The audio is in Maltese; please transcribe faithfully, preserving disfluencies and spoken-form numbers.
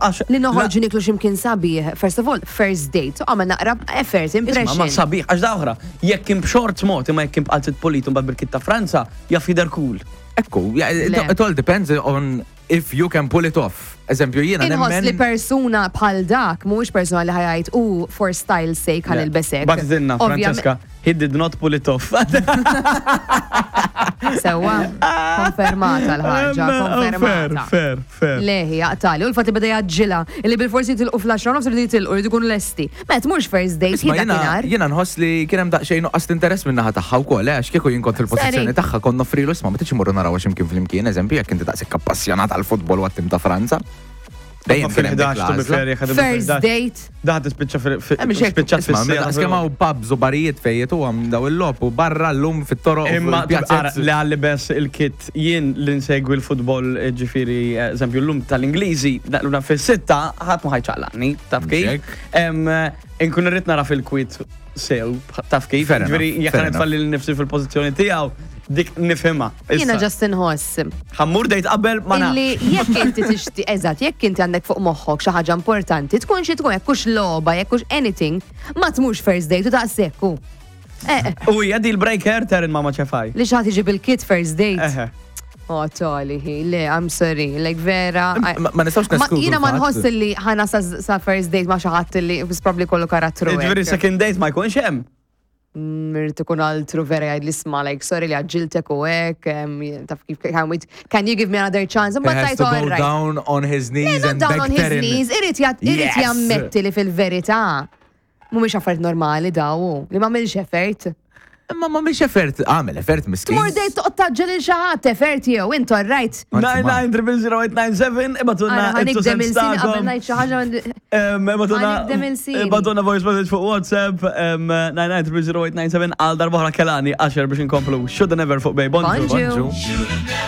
Għax- Li noħorġu niklu x'imkien sabiħ. First of all, first date. Għamel naqra effort, Isma, ma impression. sabiħ, għax da oħra, jekk kien b'shorts mod, imma jekk kien b'qalzit pulit u mbagħad bil-kit ta' Franza, jaf jidher cool. Ekku, yeah, it, Le. it all depends on if you can pull it off. Eżempju, jiena Inħoss li nemmen. persuna bħal dak, mhuwiex persuna li ħa jgħid u for style sake ħa nilbes hekk. Bagħtitilna, Ovvjament- Francesca, he did not pull it off. Sewa, konfermata l-ħaġa, konfermata. Fair, fair. Leħi, jaqtali, u l-fatti beda jaġġila, illi bil-forsi tilqu fl-għaxra nofs rridu jitilqu, rridu jkunu lesti. Met, mhux first date, Isma, hi jiena dakinhar. jiena nħoss li kien hemm daqsxejn nuqqas interess minn naħa tagħha wkoll, eh, għax kieku jien kont fil-pożizzjoni Seri. tagħha kont noffrilu isma' ma tridx imorru naraw għax imkien flimkien, eżempju, jekk inti daqshekk appassjonat għall-futbol u għat-tim ta' Franza. Dejjem kien hemm dik Fil-ħdax, to be l-għażla. fair, jekk First date. Daħ tispiċċa Eh, mhix hekk, fil-spiċċat isma' fis-sena. daqs kemm hawn pubs u barijiet fejn jitu għam daw il-logħob u barra llum fit-toroq u Imma fil-pjazzett. li għalli bes il-kit jien li nsegwi l-futbol ġifieri, eżempju, l-lum tal-Ingliżi, l-lum fil-sitta, ħadd ma ħa jċaqlaqni, taf kif? Mhux hekk. Em, Inkun irrid nara fil-kwit sew, taf kif? Fair enough, Ġifieri, jekk fair nitfalli l-nifsi fil-pożizzjoni tiegħu, dik nifhimha. Jiena Issa, just inħoss. Ħa mmur date qabel ma nafx. Illi jekk inti tixti, eżatt, jekk inti għandek fuq moħħok xi ħaġa importanti, tkun xi tkun jekk hux logħba, jekk hux anything, ma tmurx first date u daqshekk hu. Eh, U hija deal breaker Terin mama ċefaj. li xi ħadd jiġi bil-kit first date. Eħe. Oh, tali, le, I'm sorry, like vera. I- Ma ma nistgħux Ma neskludu jiena ma l-fatt. nħoss li ħana sa, sa first date ma xi ħadd li was probably kollu karattru. Ġifieri hekk. second date ma jkunx hemm. Mirt ikun altru vera jgħid li isma' like sorry li għaġġiltek u hekk, em, taf kif can we- can you give me another chance? He Mbagħad has tajt to go all right. down on his knees Not and down beg on his Terin. knees, irid jat- irid Yes! jammetti li fil-verità mhumiex affarijiet normali daw, li m'għamilx effort. Imma ma mhix effort, għamel effort miskin. Tmur date toqgħod taġġel il xi ħadd effort jew int all right. Anzi, ma- nine nine zero zero eight nine seven, ibagħtulna Ara ħa nigdem il-sin qabel ngħid xi ħaġa Ibagħtulna Ħa nigdem il-sin. Ibagħtulna voice message fuq WhatsApp nine nine zero zero eight nine seven għal darba oħra Kehlani għaxar biex inkomplu. Shoulda Never fuq Bay. Bonġu. Bonġu. Bonġu.